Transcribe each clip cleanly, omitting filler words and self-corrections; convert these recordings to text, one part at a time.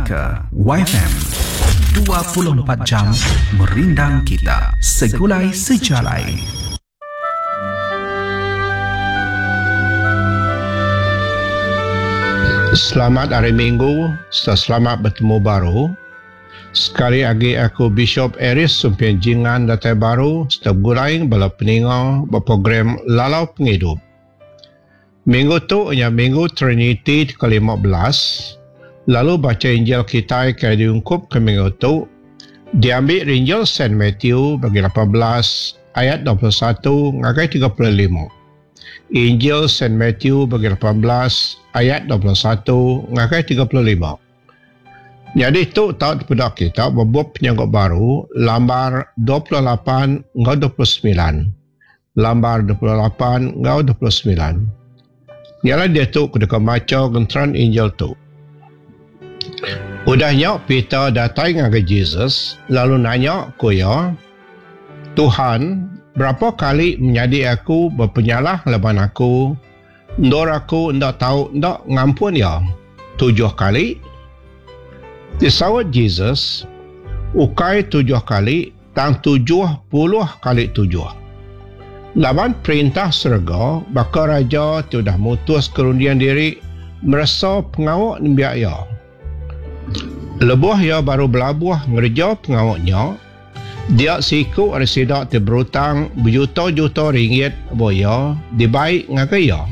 Didingaka Waifm 24 jam merindang kita segulai sejalai. Selamat Hari Minggu serta selamat betemu baru. Sekali agi aku Bishop Aeries Sumping Jingan datai baru serta begulai bala peninga ba program Lalau Pengidup. Minggu tu nya Minggu Triniti ti ke-15, lalu bacha Injil kitai ke diungkupka minggu tu diambi ari Injil Saint Matthew bagi 18 ayat 21 ngagai 35. Injil Saint Matthew bagi 18 ayat 21 ngagai 35. Nyadi tu tau dipeda kita ba bup Penyanggup Baru lambar 28 enggau 29. Lambar 28 enggau 29. Nya alai diatu ku deka macha genteran Injil tu. Udah nya Peter datai ngagai Jesus lalu nanya ku iya, Tuhan, berapa kali menyadi aku bepenyalah laban aku, endur aku enda tau enda ngampun iya? Tujuh kali? Disaut Jesus, Ukai tujuh kali, tang 70 kali tujuh. Laban Perintah serega baka raja ti udah mutuska runding diri meresa pengawa nembiak iya. Lebuh iya baru belabuh ngereja pengawa nya, dia seiku ari sida ti berutang bejuta-juta ringgit ba iya dibai ngagai iya.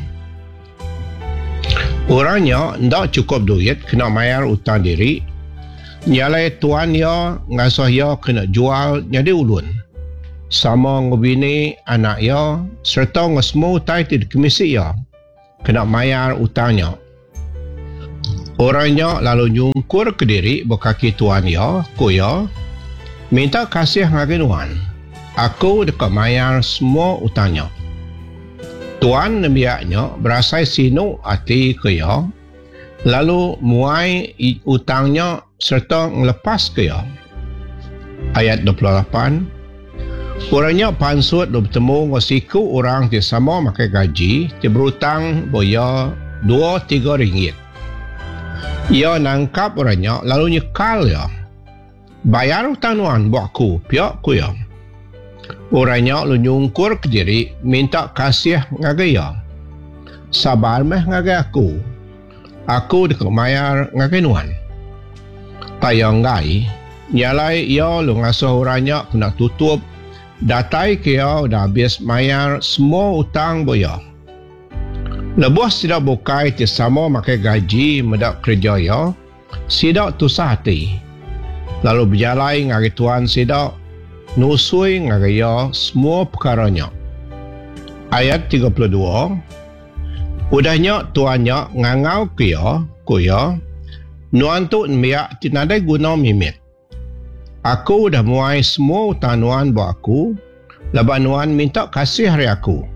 Orang nya enda chukup duit kena mayar utang diri, nya alai tuan iya ngasuh iya kena jual nyadi ulun, sama enggau bini, anak iya, sereta enggau semua utai ti dikemisi iya, kena mayar utang nya. Orang nya lalu nyungkurka diri ba kaki tuan iya, ku iya, Minta kasih ngagai nuan. Aku deka mayar semua utang nya. Tuan nembiak nya berasai sinu ati ke iya, lalu muai utang nya sereta ngelepaska iya. Ayat 28, Orang nya pansut lalu betemu enggau siku orang ti sama makai gaji ti berutang ba iya dua tiga ringgit. Iya nangkap orang nya lalu nyekal iya. Bayar utang nuan ba aku, pia ku iya. Orang nya lalu nyungkurka diri minta kasih ngagai iya. Sabar meh ngagai aku. Aku deka mayar ngagai nuan. Tang iya enggai. Nya alai iya lalu ngasuh orang nya kena tutup datai ke iya udah abis mayar semua utang ba iya. Lebuh sida bukai ti sama makai gaji meda kereja iya, Sida tusah ati, lalu bejalai ngagai tuan sida, nusui ngagai iya semua pekara nya. Ayat 32, Udah nya tuan nya ngangauka iya, ku iya, Nuan tu nembiak ti nadai guna mimit. Aku udah muai semua utang nuan ba aku laban nuan minta kasih ari aku.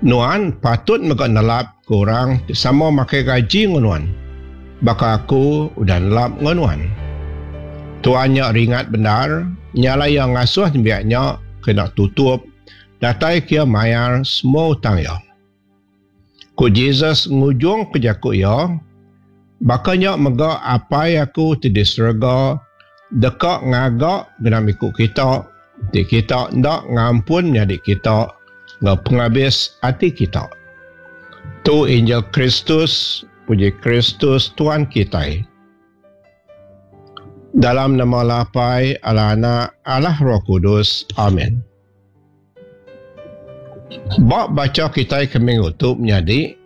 Nuan patut mega nelap ke orang ti sama makai gaji enggau nuan, baka aku udah nelap enggau nuan. Tuan nya ringat bendar, nya alai iya ngasuh nembiak nya kena tutup datai ke iya mayar semua utang iya. Ku Jesus ngujungka jaku iya, Baka nya mega Apai aku ti di serega deka ngaga genap iku kita enti kita enda ngampun menyadi kita enggau pengabis ati kita. Tu Injil Kristus, puji Kristus Tuan kitai. Dalam nama Allah Apai, Allah Anak, Allah Roh Kudus. Amin. Ba bacha kitai ke minggu tu menyadi,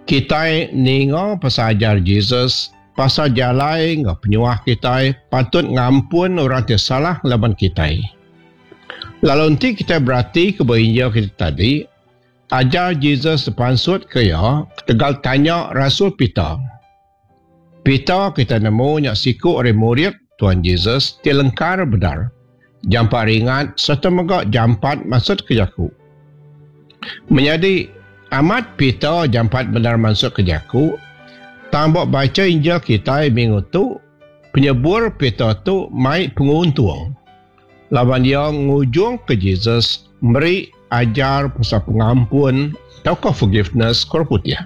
kitai ninga pasal ajar Jesus pasal jalai enggau penyuah kitai patut ngampun orang ti salah ngelaban kitai. Lalu enti kitai beratika ba Injil kita tadi, ajar Jesus dipansutka iya ketegal tanya rasul Peter. Peter kitai nemu nya siku ari murid Tuan Jesus ti lengkar bendar, jampat ringat sereta mega jampat mansutka jaku. Menyadi, amat Peter jampat bendar mansutka jaku, tang ba bacha Injil kitai minggu tu, penyebur Peter tu mai penguntung laban iya ngujungka Jesus meri ajar pasal pengampun tauka forgiveness ke orang putih.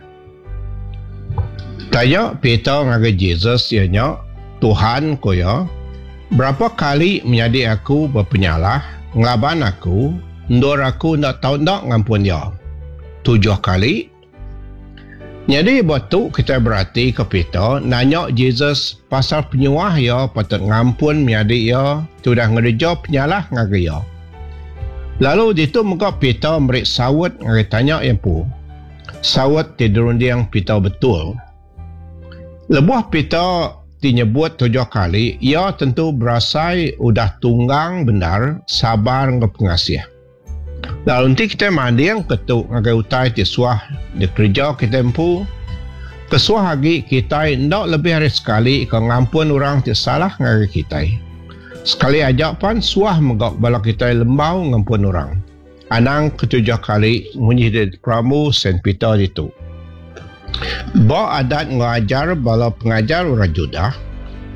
Tanya Peter ngagai Jesus iya nya, Tuhan, ku iya, berapa kali menyadi aku bepenyalah ngelaban aku endur aku enda tau enda ngampun iya? Tujuh kali? Nyadi ba tu kitai beratika Peter nanya Jesus pasal penyuah iya patut ngampun menyadi iya ti udah ngereja penyalah ngagai iya. Lalu ditu mega Peter meri saut ngagai tanya iya empu. Saut ti dirunding Peter betul. Lebuh Peter ti nyebut tujuh kali, iya tentu berasai udah tunggang bendar sabar enggau pengasih. Lalu enti kitai mandingka tu ngagai utai ti suah dikereja kitai empu, kesuah agi kitai enda lebih ari sekali ke ngampun orang ti salah ngagai kitai. Sekali aja pan suah mega bala kitai lembau ngampun orang. Anang ketujuh kali munyi di perambu Saint Peter ditu. Ba adat enggau ajar bala pengajar orang Judah,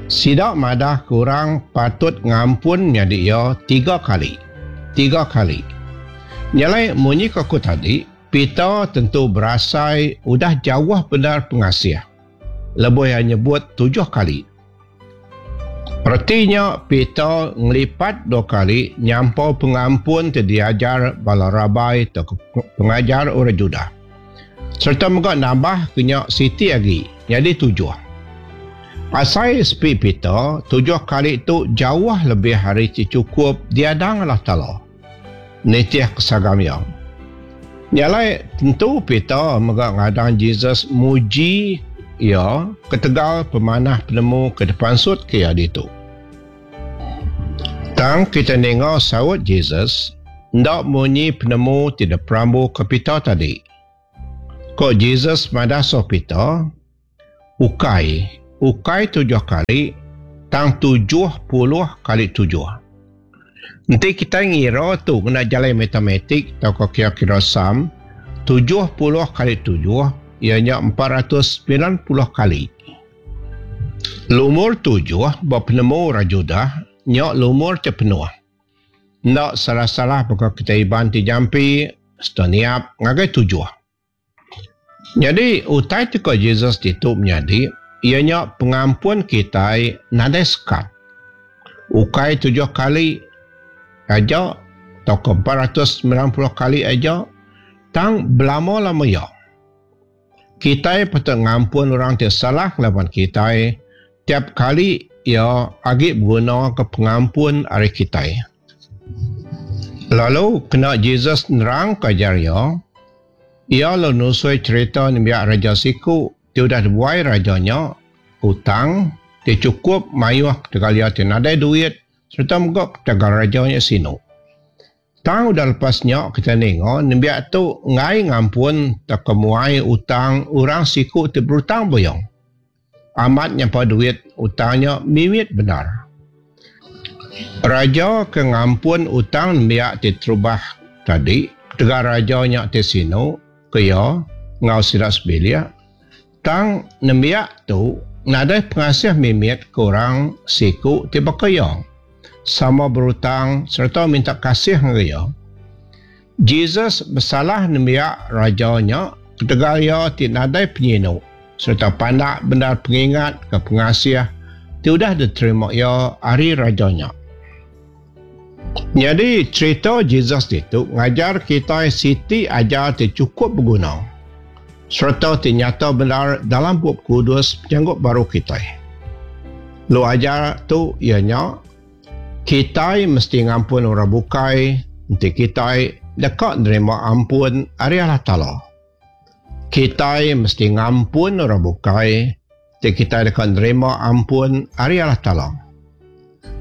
sida madahka orang patut ngampun menyadi iya tiga kali. Tiga kali. Nya alai munyi ke aku tadi, Peter tentu berasai udah jauh bendar pengasih lebuh iya nyebut tujuh kali. Reti nya Peter ngelipat dua kali nyampau pengampun ti diajar bala rabai tauka pengajar orang Judah. Sereta mega nambahka nya siti agi nyadi tujuh. Asai sepi Peter, tujuh kali tu jauh lebih ari ti chukup diadang Allah Taala nitihka sagam iya. Nya alai, tentu Peter mega ngadang Jesus muji iya ketegal pemanah penemu ke dipansutka iya ditu. Tang kita ninga saut Jesus enda munyi penemu ti diperambuka Peter tadi. Ko Jesus madah suh Peter, Ukai, ukai tujuh kali, tang 70 kali tujuh. Enti kitai ngira tu ngena jalai matematik tauka kira-kira sum, 70 kali tujuh iya nya 490 kali. Lumur tujuh ba penemu orang Judah nya lumur ti penuh. Enda salah-salah baka kitai Iban ti jampi sereta niap ngagai tujuh. Nyadi utai ti ko Jesus ditu menyadi iya nya pengampun kitai nadai sekat. Ukai tujuh kali aja tauka 490 kali aja tang belama-lama iya. Kitai patut ngampun orang ti salah ngelaban kitai tiap kali iya agi begunaka pengampun ari kitai. Lalu kena Jesus nerangka ajar iya, iya lalu nusui cherita nembiak raja siku ti udah dibuai raja nya utang ti chukup mayuh ketegal iya ti nadai duit sereta mega ketegal raja nya sinu. Tang udah lepas nya kitai ninga nembiak tu enggai ngampun tauka muai utang orang siku ti berutang buyong. Amat nyampa duit utang nya mimit bendar. Raja ke ngampun utang nembiak ti terubah tadi ketegal raja nya ti sinu ke iya enggau sida sebilik tang nembiak tu nadai pengasih mimit ke orang siku ti baka iya. Sama berutang sereta minta kasih ngagai iya. Jesus besalah nembiak raja nya ketegal iya ti nadai penyinu sereta pandak bendar pengingat ke pengasih ti udah diterima iya ari raja nya. Nyadi, cherita Jesus ditu ngajar kitai siti ajar ti chukup beguna sereta ti nyata bendar dalam Bup Kudus Penyanggup Baru kitai. Lu ajar tu iya nya, kitai mesti ngampun orang bukai enti kitai deka nerima ampun ari Allah Taala. Kitai mesti ngampun orang bukai enti kitai deka nerima ampun ari Allah Taala.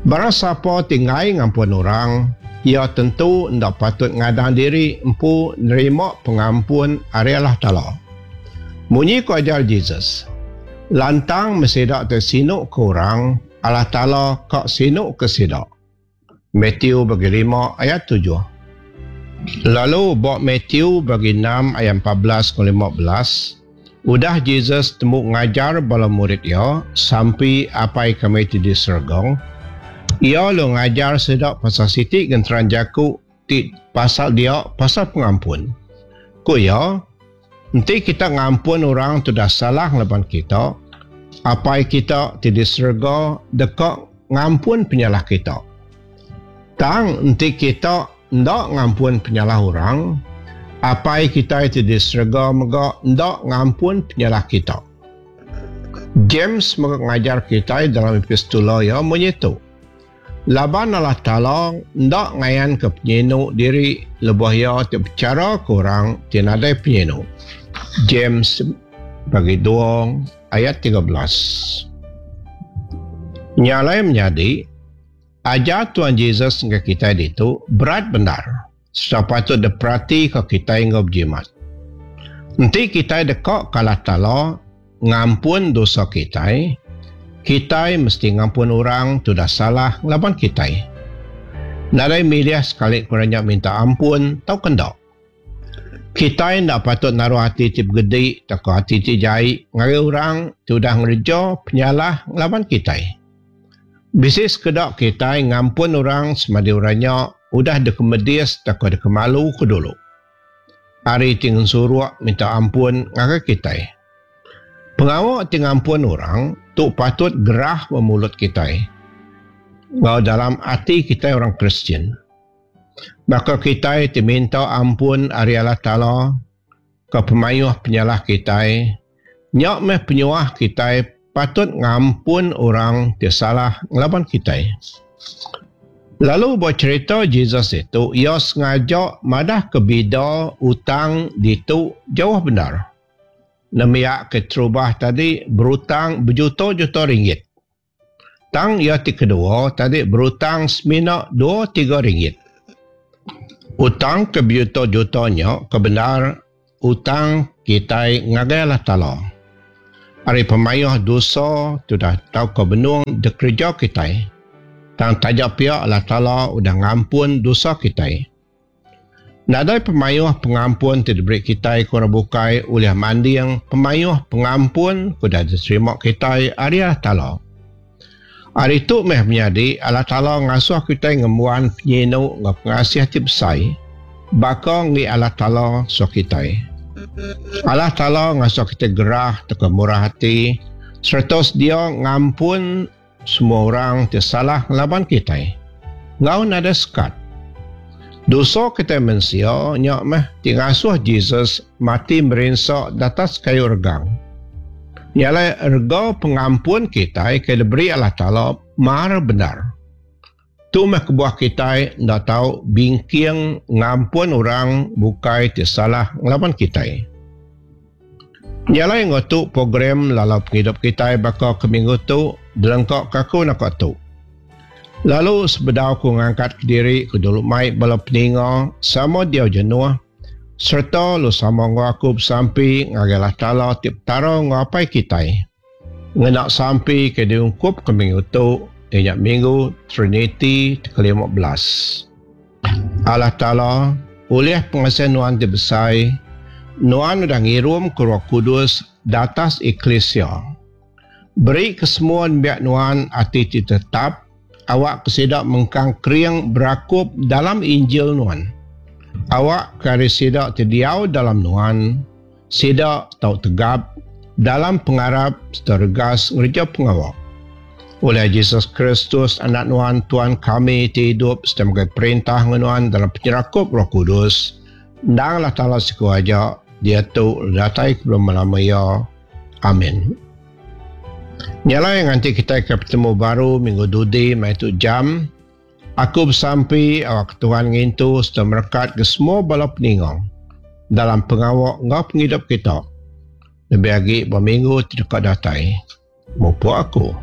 Barang sapa ti enggai ngampun orang, iya tentu enda patut ngadang diri empu nerima pengampun ari Allah Taala. Munyi ku ajar Jesus, Lantang meh sida ti sinu ke orang, Allah Taala ka sinu ke sida. Matthew bagi lima ayat tujuh. Lalu ba Matthew bagi enam ayat 14 enggau 15, Udah Jesus tembu ngajar bala murid iya sampi Apai kami ti di serega, iya lalu ngajar sida pasal siti genteran jaku ti pasal dia pasal pengampun. Ku iya, Enti kita ngampun orang ti udah salah ngelaban kita, Apai kita ti di serega deka ngampun penyalah kita. Tang enti kita enda ngampun penyalah orang, Apai kitai ti di serega mega enda ngampun penyalah kita. James mega ngajar kitai dalam epistula iya munyi tu, Laban Allah Taala enda ngayanka penyinu diri lebuh Iya ti bechara ke orang ti nadai penyinu. James bagi dua ayat 13. Nya alai menyadi, ajar Tuhan Jesus ngagai kitai ditu berat bendar sereta patut diperatika kitai enggau bejimat. Enti kitai deka ke Allah Taala ngampun dosa kitai, kitai mesti ngampun orang ti udah salah ngelaban kitai. Nadai milih sekali ke orang nya minta ampun tauka enda. Kitai enda patut naruh ati ti begedi tauka ati ti jai ngagai orang ti udah ngereja penyalah ngelaban kitai. Bisi sekeda kitai ngampun orang semadi orang nya udah dikemedis tauka dikemaluka dulu. Ari ti ngensuruk minta ampun ngagai kitai. Pengawa ti ngampun orang tu patut gerah ba mulut kitai enggau dalam ati kitai orang Kristian. Baka kitai ti minta ampun ari Allah Taala ke pemayuh penyalah kitai, nya meh penyuah kitai patut ngampun orang ti salah ngelaban kitai. Lalu ba cherita Jesus ditu, iya sengaja madahka bida utang ditu jauh bendar. Nembiak keterubah tadi berutang bejuta-juta ringgit. Tang iya ti kedua tadi berutang semina dua tiga ringgit. Utang ke bejuta-juta nya ke bendar utang kitai ngagai Allah Taala. Ari pemayuh dosa ti udah tauka benung dikereja kitai. Tang taja pia Allah Taala udah ngampun dosa kitai. Nadai pemayuh pengampun ti diberi kitai ke orang bukai ulih manding pemayuh pengampun ke udah diterima kitai ari Allah Taala. Ari tu meh menyadi Allah Taala ngasuh kitai ngembuan penyinu enggau pengasih ti besai baka enggi Allah Taala suah kitai. Allah Taala ngasuh kitai gerah tauka murah ati sereta sedia ngampun Semua orang ti salah ngelaban kitai enggau nadai sekat. Dosa kitai mensia nya meh ti ngasuh Jesus mati merinsa datas kayu regang. Nya alai rega pengampun kitai ke diberi Allah Taala mar bendar. Tu meh kebuah kitai enda tau bingking ngampun orang bukai ti salah ngelaban kitai. Nya alai enggau tu program lalau pengidup kitai baka ke minggu tu dilengka ke aku naka tu. Lalu sebedau aku ngangkat kediri ku dulu mai bala peninga sama diau jenuh sereta lu sama enggau aku besampi ngagai Allah Taala ti Petara enggau Apai kitai. Ngena sampi ke diungkupka minggu tu iya nya Minggu Triniti ti ke-15. Allah Taala, ulih pengasih Nuan ti besai, Nuan udah ngirumka Roh Kudus datas eklisia. Beri ke semua nembiak Nuan ati ti tetap, awakka sida mengkang kering berakup dalam Injil Nuan. Awakka ari sida ti diau dalam Nuan, Sida tau tegap dalam pengarap sereta regas ngereja pengawa. Ulih Jesus Kristus, Anak Nuan, Tuan kami ti idup sereta megai perintah enggau Nuan dalam penyerakup Roh Kudus, endang Allah Taala siku aja, diatu lalu datai ke belama-lama iya. Amin. Nya alai nganti kitai ke betemu baru minggu dudi maya tu jam, Aku besampi awakka Tuhan ngintu sereta merekatka semua bala peninga dalam pengawa enggau pengidup kita, lebih agi ba minggu ti deka datai. Mupuk aku.